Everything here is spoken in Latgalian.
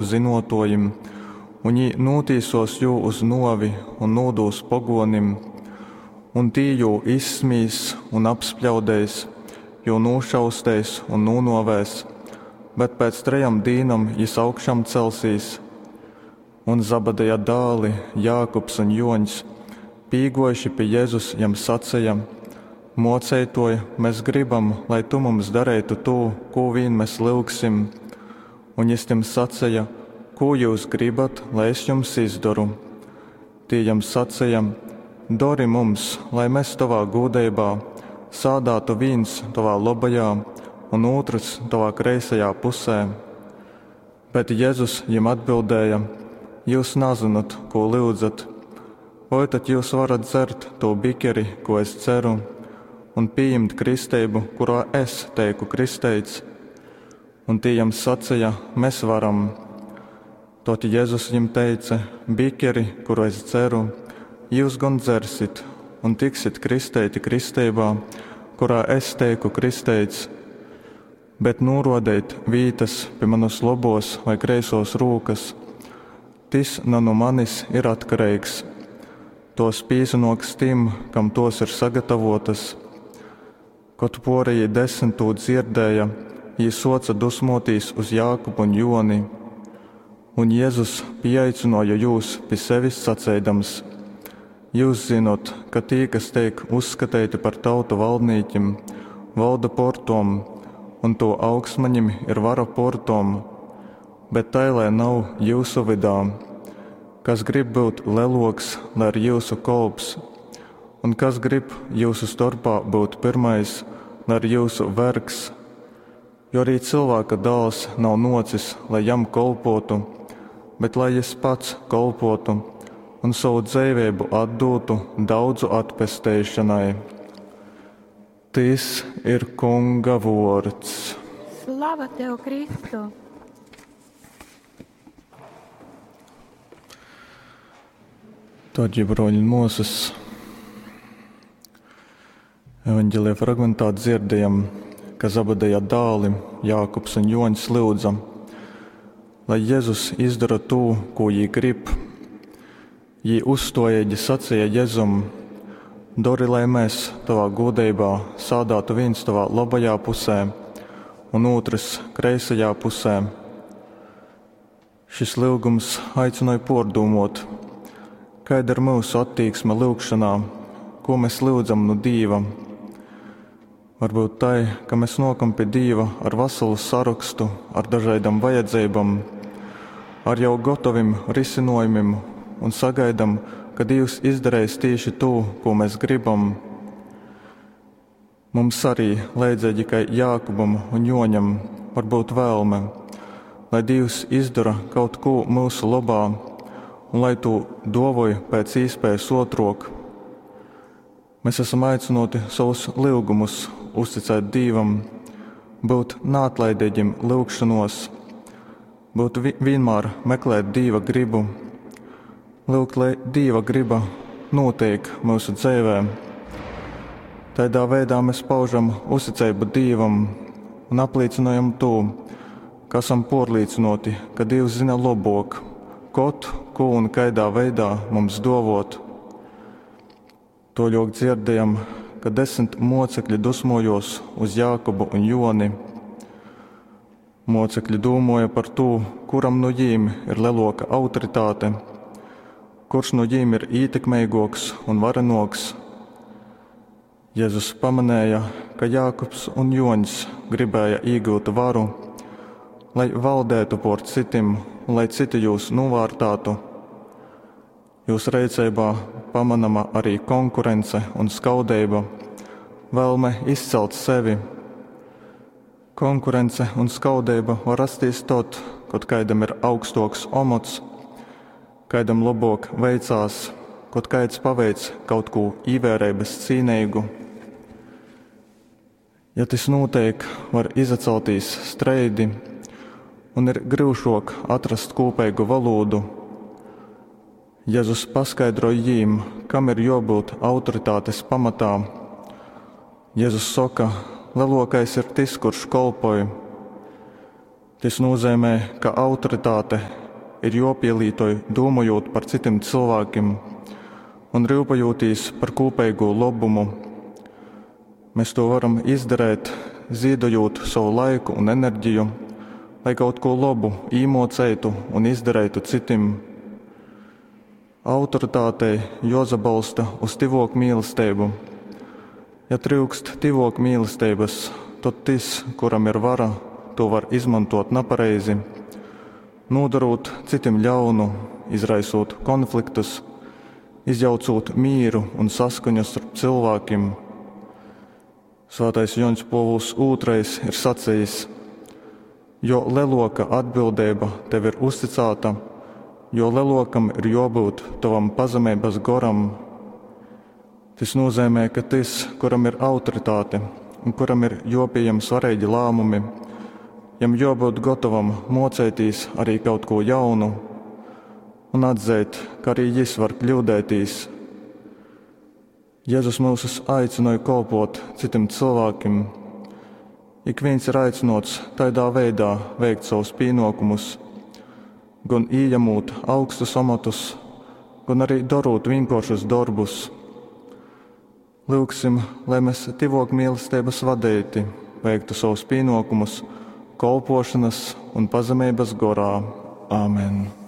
zynuotuojim, un jī nūtīsuos jū uz nuovi un nūdūs poguonim. Un tī jū izsmīs un apspļaudeis, jū nūšausteis un nūnuovēs, bet pēc trejom dīnom jis augšamcelsīs. Un Zabadeja dāli, Jākubs un Juoņs, pīguojuši pi Jezus, jam saceja: Muoceituoj, mes gribam, lai tu mums dareitu tū, kū vīn mes lyugsim. Un jis tim saceja: Kū jyus gribat, lai es jums izdoru? Tī jam saceja: Dori mums, lai mes tovā gūdeibā sādātu vīns tovā lobajā un ūtrys tovā kreisajā pusē. Bet Jezus jim atbildēja: Jyus nazynot, kū lyudzat. Voi tad jyus varat dzert tū bikeri, kū es dzeru, un pījimt kristeibu, kurā es teiku kristeits? Un tī jam saceja: Mes varam. Tod Jezus jim teice: Bikeri, kuru es dzeru, jyus gon dzersit un tiksit kristeiti kristeibā, kurā es teiku kristeits. Bet nūruodeit vītys pi manys lobuos vai kreisuos rūkys, tys na nu manis ir atkareigs. Tuos pīsanuoks tim, kam tuos ir sagatavuotys. Kod puorejī desmit tū dzierdēja, jī suoce dusmuotīs uz Jākubu un Juoni. Un Jezus pīaicynuoja jūs pi sevis saceidams: Jyus zynot, ka tī, kas teik uzskateiti par tautu valdnīkim, volda puor tom, un tū augstmaņim ir vara puor tom. Bet tai lai nav jyusu vydā. Kas grib byut leluoks, lai ir jyusu kolps, un kas grib jyusu storpā byut pyrmais, lai ir jyusu vergs. Jo arī Cylvāka Dāls nav nuocis, lai jam kolpuotu, bet lai jis pats kolpuotu un sovu dzeiveibu atdūtu daudzu atpesteišonai. Tys ir Kunga vuords. Slava tev, Kristu! Dārgie broļi un muosys, Evanģelija fragmentā dzirdējam, ka Zabadeja dāli Jākubs un Joņs lyudza, lai Jezus izdara tū, ko jī grib. Jī uzstuojīgi sacīja Jezum: Dori, lai mēs tavā gūdeibā sādātu viens tavā labajā pusē un ūtrs kreisajā pusē. Šis lyugums aicināja pārdomot, kāda ir mūsu attīksme lyugšanā, ko mēs lyudzam no Dīva. Varbūt tai, ka mēs nokam pie Dīva ar veselu sarakstu, ar dažādām vajadzībām, ar jau gatavim risinojumiem un sagaidam, ka Dievs izdarīs tieši to, ko mēs gribam. Mums arī, līdzīgi kā Jākubam un Joņam, var būt vēlme, lai Dievs izdara kaut ko mūsu labā un lai to dovoj pēc iespējas otrok. Mēs esam aicināti savus lyugumus uzticēt Dievam, būt neatlaidīgiem lūgšanos, būt vi vienmēr meklēt Dieva gribu, lūgt, lai Dieva griba notiek mūsu dzīvē. Tādā veidā mēs paužam uzticību Dievam un apliecinājam to, ka esam pārliecināti, ka Dievs zina labāk, kot, ko un kaidā veidā mums dovot. Toļok dzirdējam, ka desmit mocekļi dusmojos uz Jākubu un Joni. Mocekļi dūmoja par to, kuram no jīm ir leloka autoritāte, kurš no jīm ir ītekmīgāks un varenoks. Jēzus pamanēja, ka Jākubs un Joņs gribēja iegūt varu, lai valdētu pār citiem un lai citi jūs novārtātu. Jūsu rīcībā pamanama arī konkurence un skaudība, vēlme izcelt sevi. Konkurence un skaudība var rasties tad, kad kādam ir augstoks omots, kādam labāk veicās, kad kāds paveic kaut ko īvērības cīnīgu. Ja tas notiek, var izaceltīs streidi un ir grūšok atrast kopīgu valodu. Jēzus paskaidroja jīm, kam ir jābūt autoritātes pamatā. Jēzus saka, lielākais ir tas, kurš kolpoja. Tys nūzeimej, ka autoritāte ir jōpīlītoj dūmojūt par cytim cylvākim un ryupejūtīs par kūpeigū lobumu. Mes tū varam izdareit, zīdojūt sovu laiku un energiju, lai kaut kū lobu īmōceitu un izdareitu cytim. Autoritātei jōsabolsta uz tyvōkmīlesteibu. Ja tryukst tyvōkmīlesteibas, tod tys, kuram ir vara, tū var izmontōt napareizi, nūdorūt cytim ļaunu, izraisūt konfliktus, izjaucūt mīru un saskaņu storp cylvākim. Svātais Jōņs Pōvuls II ir sacejis: Jo lelōka atbildeiba tev ir uzticāta, jo lelōkam ir jōbyut tovam pazemeibas goram. Tys nūzeimej, ka tys, kuram ir autoritāte un kuram ir jōpījem svareigi lāmumi, jam jōbyut gotovam mōceitīs arī kaut kū jaunu un atzeit, ka arī jis var kļūdētīs. Jezus myusus aicynoj kolpōt cytim cylvākim. Ikvīns ir aicynōts taidā veidā veikt sovus pīnōkumus, gon ījamūt augstus omotus, gon arī dorūt vīnkōršus dorbus. Lyugsim, lai mes tyvōkmīlesteibas vadeiti veiktu sovus pīnōkumus kolpōšanas un pazemeibas gorā. Amen.